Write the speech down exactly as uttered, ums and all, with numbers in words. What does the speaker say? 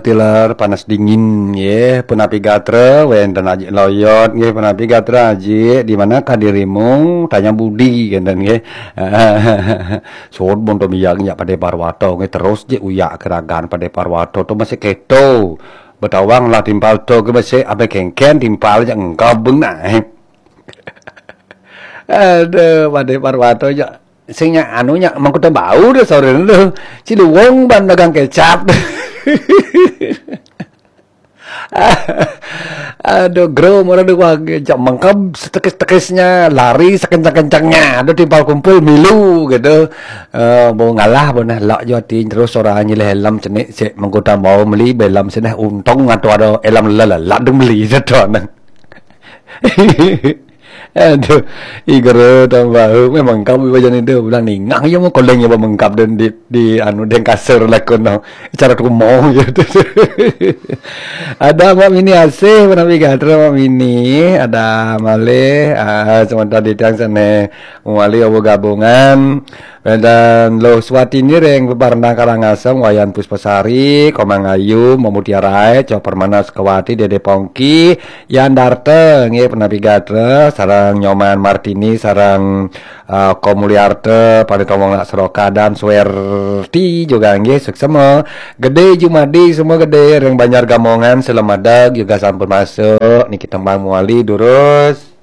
Tiler panas dingin nggih, punapi gatra, wénten Aji Loyot nggih, punapi gatra Aji, di manakah dirimu? Tanya budi, ngénten nggih. Suud pun to miyag nyak Padé Parwata nggih, terus jé uyak keragan Padé Parwata to masih kéto. Betawang lah timpal to ké masih abé kéngkén timpal jak engkab beunah. Aduh, Padé Parwata jak sing nyak anu nyak mangkuta bau deh sore deh. Ciluwung ban dagang kecap. Aduh, gro murah deh wah jak mangkab setekis-tekisnya, lari sekencang-kencangnya. Aduh, timpal kumpul milu gitu. Eh, mau ngalah beunah lak jo atin terus orang nyilih helm cenik sik mangkuta bau meli belam seneh untung atau ada helm lelalat deng meli sedonan. Aduh, igere tambah memang kami bajan itu bilang ningah ya mau koleng ya mengkap dan di, di anu deng kasur lakon no. Cara tumo gitu. Ada Mak Mini asih, Mak Mini gatra, Mak Mini, ada malih, ah, sementara di tiang sana mawali awa gabungan. Dan Luh Swatini ring Bebarendang Karangasem, Wayan Puspasari, Komang Ayu, Mamutiarai, Cok Permana Sukawati, Dede Pongki, Yan Darta, nggih, Penapi Gatra, sareng Nyoman Martini, sareng, eh, Komuliarta, Panita Wong Nak Seroka, dan Swerti juga, nggih, suksema. Gede Jumadi, semua gede, ring Banjar Gamongan, Selemadeg, juga sampun masuk, niki tembang muali, durus.